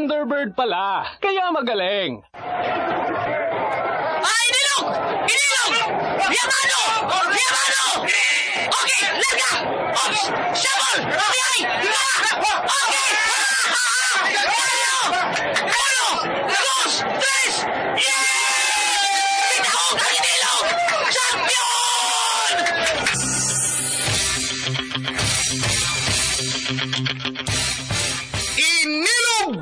Thunderbird pala. Kaya magaling. Ay, Inilog! Inilog! Yamano! Yamano! Okay, larga! Oh, shuffle! Okay! Okay! Uno! Uno! Dos! Tres! Yeah! Tinahog ang Inilog! Champion! Inilog!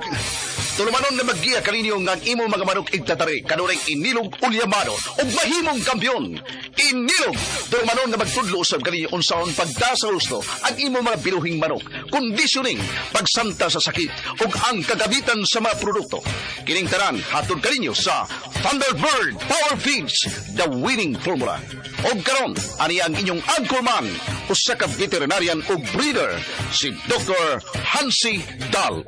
Tulumanon na maggiya kaninyo nga ang imong mga manok igtatari kanunay inilog ulyamano ug mahimong kampiyon. Inilog! Tulumanon nga magtudlo usab kaninyo unsaon pagda sa husto ang imong mga binuhing manok, conditioning, pagsanta sa sakit ug ang kagamitan sa mga produkto. Kining tanan hatod kaninyo sa Thunderbird Power Feeds, the winning formula. Og karon, ani ang inyong anchorman, usa ka veterinarian ug breeder, si Dr. Hansi Dahl.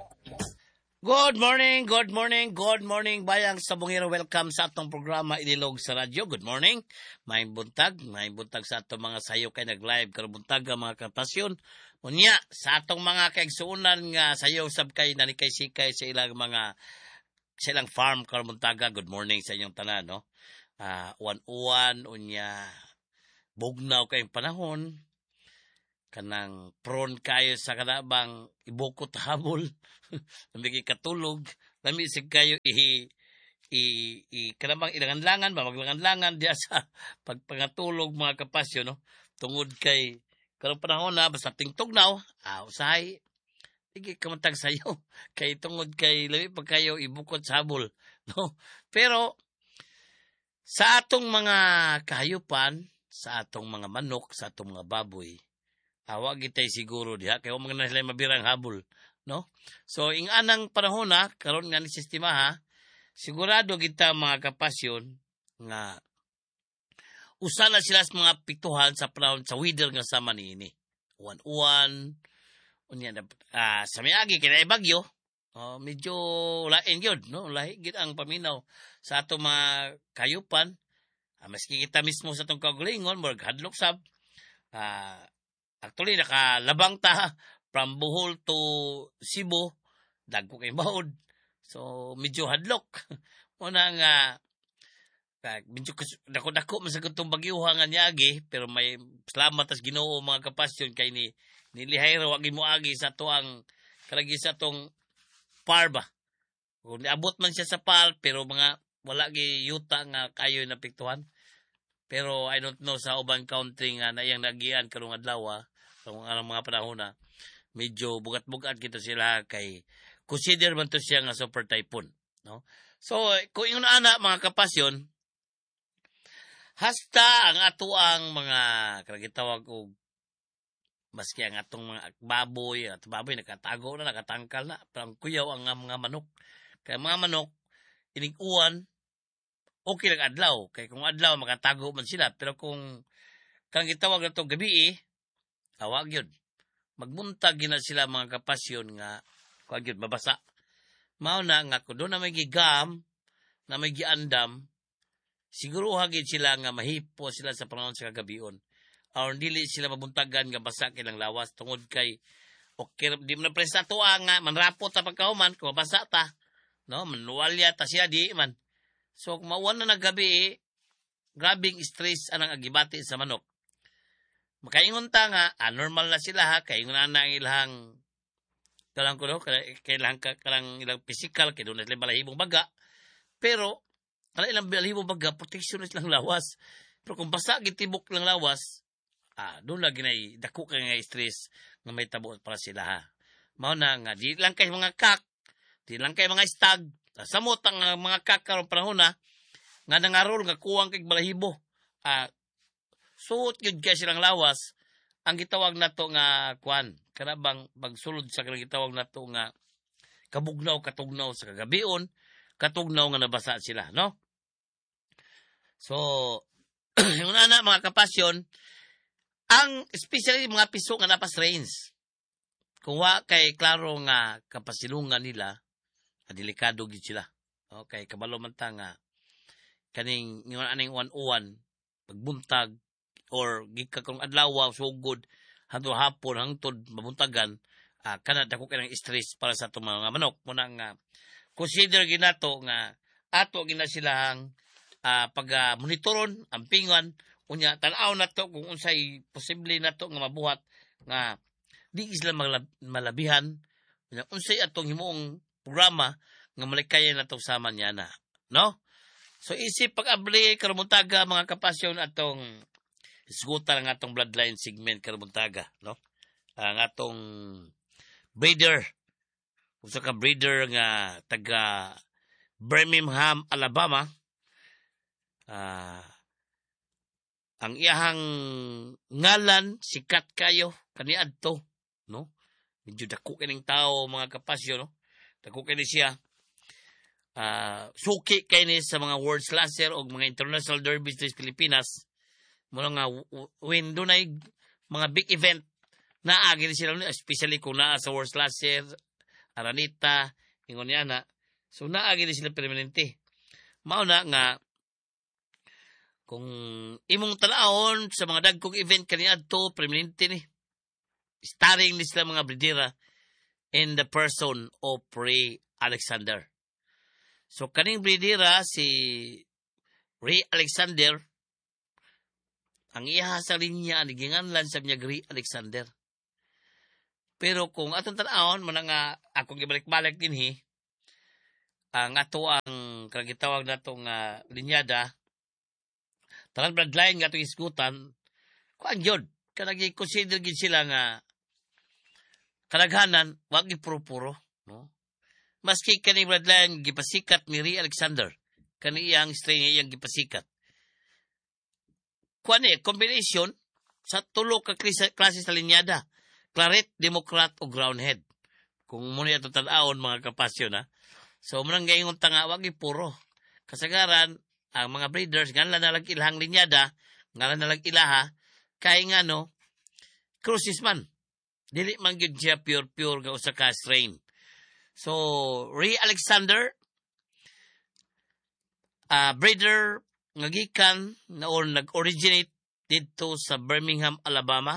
Good morning, good morning, good morning, bayang sabungero. Welcome sa atong programa Inilog sa Radyo. Good morning. Maayong buntag sa atong mga sayo kay nag-live karon buntag mga kapasyon. Unya sa atong mga kaigsuonan nga sayo sab kay nanikay sikay sa ilang mga sa ilang farm karon buntaga. Good morning sa inyong tanan, no? Uwan-uwan unya bugnaw kayong panahon, kanang prone kayo sa kanabang ibukot habol, lami kay katulog, lami sig kayo i i, i kanabang ilangan-langan ba, maglangan-langan diya sa pagpangatulog, mga kapasyon, no, tungod kay karong panahon na basta tingtugnaw, usahay sige kamantag sayo kay tungod kay lami pa kayo ibukot sa habol, no? Pero sa atong mga kahayupan, sa atong mga manok, sa atong mga baboy, awa gitay siguro diha kay wa man na sila mabirang habol, no? So ing anang panahon na karon nga ni sistema ha, sigurado kita, mga kapasyon, nga usa na sila sa mga pituhan sa panahon sa weather nga sama niini. Uwan-uwan unya sa miagi kay bagyo, oh, medyo lain gyud, no? Lahi gyud ang paminaw sa ato mga kayupan. Maski kita mismo sa atong kaugalingon, murag hadlok sab. Actually, nakalabang ta from Bohol to Cebu, dagko kay baod. So, medyo hadlok. Muna nga, medyo dako-dako man sa katong bagyuha nga niagi, pero may salamat tas Ginoo, mga kapasyon, kay ni nilihay ra wa mo agi sa ato ang kalagi sa atong par ba. Kung niabot man siya sa par, pero mga wala gi yuta nga kayo napiktuhan. Pero I don't know sa uban country nga na iyang nagian karong adlaw, karong anong mga panahon na medyo bugat-bugat kita sila kay consider man to siya nga super typhoon, no? So kung ingon ana, mga kapasyon, hasta ang ato ang mga karagitawag og maski ang atong mga baboy, at baboy nakatago na, nakatangkal na, pero ang kuyaw ang mga manok. Kay mga manok, inig uwan, okay lang adlaw. Kay kung adlaw, makatago man sila. Pero kung kang gitawag na itong gabi, awag yun. Magbuntag gina sila, mga kapasyon, nga kuwag yun, mabasa. Mao na nga kung doon na may gigam, na may giandam, siguro hagid sila nga mahipo sila sa panahon sa kagabion. Aron dili sila mabuntagan nga basa kilang lawas tungod kay okay di man na presa tuwa nga manrapot ta pagkahuman kung mabasa ta, no, manuwalya ta siya di man. So kung mauwan na naggabi, grabing stress anang agibati sa manok. Makaingon ta nga normal na sila ha, kay ingon na ang ilang kalang kuno kailang kalang ilang physical kay doon na sila balahibong baga, pero kala ilang balahibong baga protection na silang lawas. Pero kung basa gitibok lang lawas, doon lagi na dako kay nga stress nga may tabo para sila ha. Mao na nga di lang kay mga kak, di lang kay mga stag, samot ang mga kak karon panahon na nga nangarol nga kuwang kay balahibo. Suot gyud kay silang lawas ang gitawag nato nga kuan, kana bang pagsulod sa kanang gitawag nato nga kabugnaw katugnaw sa kagabion, katugnaw nga nabasa sila, no? So, una na, mga kapasyon, ang especially mga piso nga napas range. Kung wa kay klaro nga kapasilungan nila, delikado gid sila. Okay, kabalo man ta nga kaning ingon aning uwan-uwan, pagbuntag or gikan karong adlaw sugod hangtod hapon hangtod mabuntagan, Kana dako kay ng stress para sa atong mga manok. Muna nga consider ginato nga ato gina silahang pag monitoron, ampingan, unya tan-aw nato kung unsay posible nato nga mabuhat nga di sila malabihan, unya unsay atong himuong programa nga malikayan nato sama niya na, no? So isip pag-abli karong buntaga, mga kapasyon, atong isgutan ang atong bloodline segment karong buntaga, no? Ang atong breeder, usa ka breeder nga taga Birmingham, Alabama. Ang iyahang ngalan sikat kayo kaniadto, no? Medyo dako kining tao, mga kapasyon, no? Dako kini siya. Suki kay ni sa mga World Slasher o mga international derbies sa Pilipinas. Muna nga when dunay mga big event, naa gini sila, especially kung naa sa World Slasher, Araneta, ingon niya na. So naa gini sila permanente. Mao na nga kung imong tan-awon sa mga dagkong event kaniadto, permanente ni. Starring ni sila mga bredera in the person of Ray Alexander. So kaning bredera si Ray Alexander, ang iya sa linya ni ginganlan sa niya Ray Alexander. Pero kung atong tan-awon man nga akong gibalik-balik dinhi ang ato ang kagitawag nato nga linyada, tanan bloodline nga atong isgutan, kuan gyud kanang gi-consider gid sila nga kadaghanan wa gyud puro-puro, no? Maski kani bloodline gipasikat ni Ray Alexander, kani iyang strain iyang gipasikat, kuan ni combination sa tulo ka klase sa linyada: Claret, Democrat o Roundhead. Kung muna ito tan-awon, mga kapasyon, ha. So munang gaingon ta nga wa gyud puro. Kasagaran ang mga breeders nganlan na lang ilahang linyada, ngalan na lang ilaha, kay nga no crosses man. Dili man gyud siya pure pure nga usa ka strain. So Ray Alexander, breeder nga gikan na or nag-originate didto sa Birmingham, Alabama.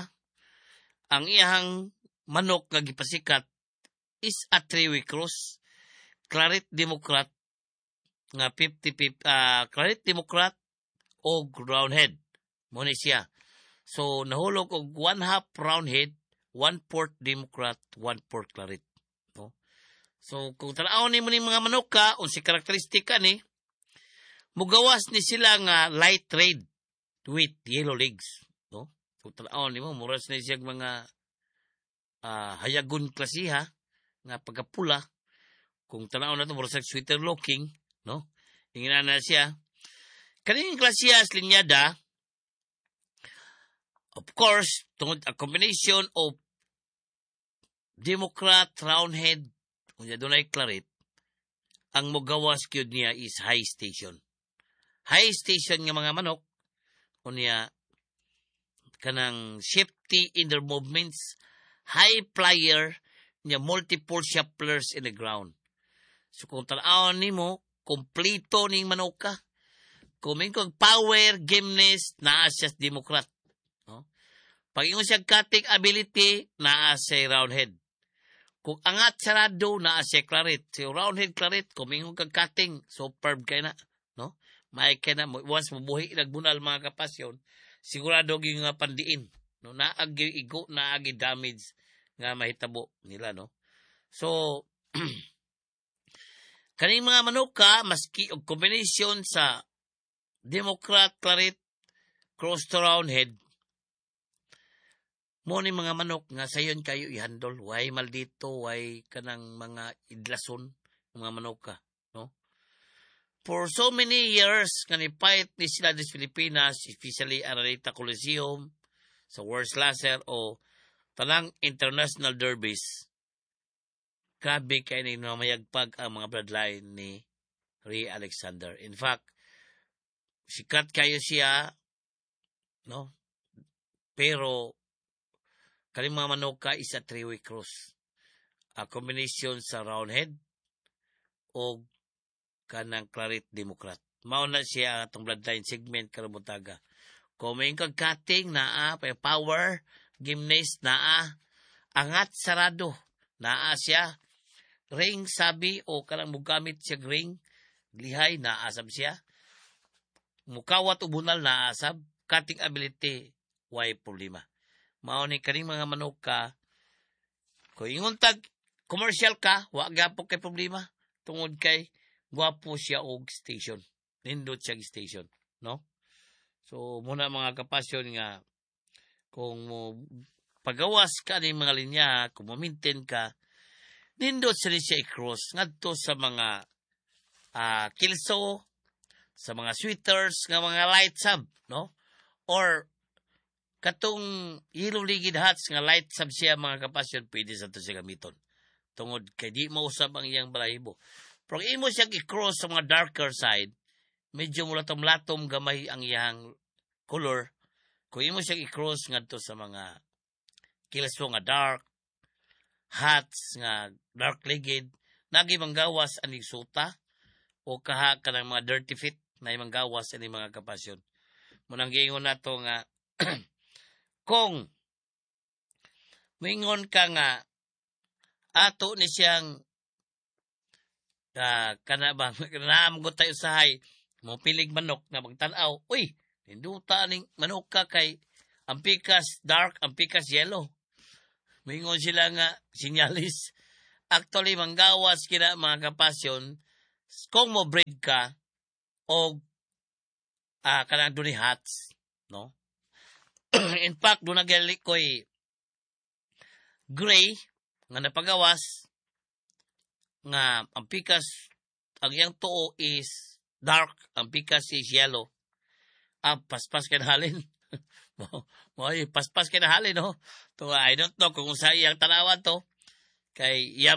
Ang iyahang manok nga gipasikat is a three-way cross. Claret Democrat nga 50, Claret Democrat o Roundhead. Mo ni siya. So nahulog og one half Roundhead, one fourth Democrat, one fourth Claret. No? So kung tan-awon nimo ning mga manok ka, unsi karakteristika ni, mugawas ni sila nga light red with yellow legs. No? Kung tan-awon nimo, muras ni siya mga hayagon klasiha nga pagkapula. Kung tan-awon na to, mura sa sweater looking, no? Ingnan na siya. Kaning klasiha sa linyada, of course, tungod a combination of Democrat, Roundhead, unya dunay Claret, ang mugawas gyud niya is high station. High station nga mga manok, unya kanang safety in their movements, high flyer, nya multiple shufflers in the ground. So kung tan-awon nimo, kompleto ning manoka. Kung kog power, gameness, naa siya sa Democrat. No? Pag ingon siya cutting ability, naa siya Roundhead. Kung angat sarado, naa siya Claret. Si Roundhead Claret, kung ingon kag cutting, superb kay na. No? May kay na, once mabuhi nagbunal, mga kapasyon, sigurado gyud nga pandiin. No? Naagi igo, naagi damage nga mahitabo nila. No? So, kaning mga manuka, maski og combination sa Democrat Claret cross to Roundhead, mo ni mga manok nga sayon kayo i-handle, way maldito, way kanang mga idlason mga manuka, no? For so many years nga ni fight ni sila sa Pilipinas, especially Araneta Coliseum, sa World Slasher o tanang international derbies, grabe kay ni namayagpag ang mga bloodline ni Ray Alexander. In fact, sikat kayo siya, no? Pero kaning mga manuka is a three-way cross. A combination sa Roundhead o kanang Claret Democrat. Mao na siya ang atong bloodline segment karong buntaga. Kung may kag cutting naa, power, gymnast naa, angat sarado. Naa siya ring sabi o kanang mugamit siya ring lihay, naa sab siya. Mukawat og bunal, naa sab. Cutting ability, way problema. Mao ni kaning mga manok ka, kung ingon tag commercial ka, wa gyapon kay problema tungod kay gwapo siya og station. Nindot siya station, no? So muna, mga kapasyon, nga kung mo pagawas ka ni mga linya, kung mo-maintain ka, nindot sa siya i-cross ngadto sa mga kilso, sa mga sweaters nga mga light sab, no? Or katong yellow legged hats nga light sab siya, mga kapasyon, pwede sa to siya gamiton. Tungod kay di mausab ang iyang balahibo. Pero kung imo siya i-cross sa mga darker side, medyo mulatom-latom gamay ang iyang color. Kung imo siya i-cross ngadto sa mga kilso nga dark, hats nga dark legged, nagi manggawas ani suta o kaha kanang mga dirty fit na manggawas ani, mga kapasyon. Munang giingon nato nga kung moingon ka nga ato ni siyang kana ba naam tayo usahay mo pilig manok nga magtan-aw, "Uy, ninduta ning manok ka kay ang pikas dark, ang pikas yellow." Moingon sila nga sinyalis. Actually, manggawas kina, mga kapasyon, kung mo breed ka og kanang duni hats, no? In fact, doon na ko'y gray nga napagawas nga ang pikas, ang iyang tuo is dark, ang pikas is yellow. Ah, paspas kay halin. Mo, mo paspas kay halin, no? To I don't know kung sa iyang tanawan to kay iya.